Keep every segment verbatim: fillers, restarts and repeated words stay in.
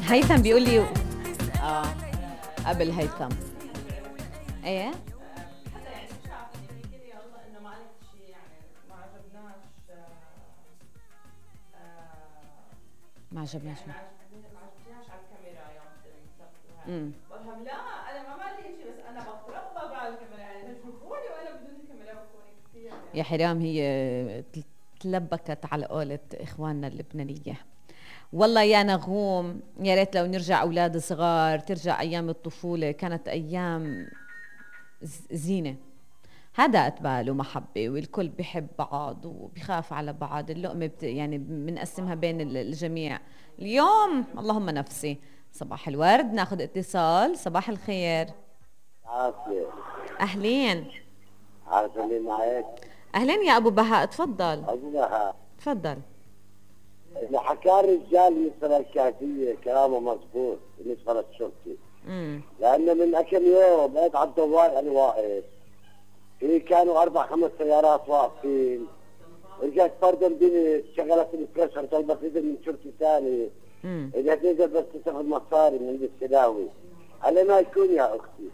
هيثم بيقول لي اه قبل هيثم ايه حتى يعني مش عارفة يعني كده يلا انه ما قالت شيء يعني ما عجبناش ما عجبناش ما عجبناش على الكاميرا يوم تسويها. امم بقولها لا انا ما بعمل هيك شيء بس انا بتربى على الكاميرا يعني تشوفوني وانا بدون الكاميرا بكون كثير يعني. يا حرام هي تلبكت على قولة اخواننا اللبنانية. والله يا نغوم يا ريت لو نرجع اولاد صغار، ترجع ايام الطفولة، كانت ايام زينة، هدأت بال ومحبة والكل بيحب بعض وبيخاف على بعض، اللقمة بت يعني بنقسمها بين الجميع. اليوم اللهم نفسي. صباح الورد، ناخد اتصال. صباح الخير. عافية. أهلين. عارفة مين معك؟ أهلين يا أبو بهاء، تفضل. أبو بهاء. تفضل. اللي حكى الرجال بالنسبة للكافية كلامه مضبوط بالنسبة للشرطي. امم لأنه من كم يوم بقيت على الدوار أنا واقف. في كانوا أربع خمس سيارات واقفين. رجعت فردة بنت شغلت البريشر طلبت إذن من شرطي ثاني. امم إذا تقدر بس تاخذ مصاري من السلاوي. على ما يكون يا أختي.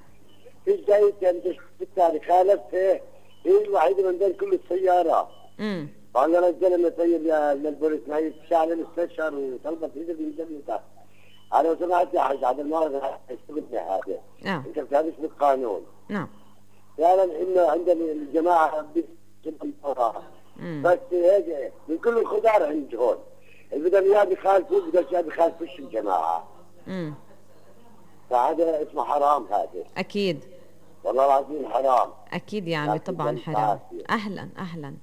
في جاي كان بالتالي خالفتها هي الوحيدة من بين كل السيارات. امم فأنا رجل مسير للبوليس ما يتشعل الاستشهر وطلبت إذن من جميعها. أنا لو سمعت يا حاج عبد المالك اشتغلني هذا. نعم. أنت بتعرفش بالقانون. نعم. فعلا إنه عندنا الجماعة بالقرار. بس هيك من كل الخضار عندهم. اللي بدهم إياه بيخالفوا بدهم إياه بيخالفوش الجماعة. امم فهذا اسمه حرام هذا. أكيد. والله العظيم حرام. أكيد يا عمي طبعا حرام. أهلا أهلا.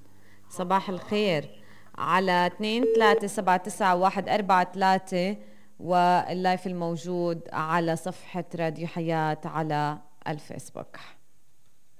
صباح الخير على اثنين ثلاثة سبعة تسعة واحد أربعة ثلاثة، واللايف الموجود على صفحة راديو حياة على الفيسبوك.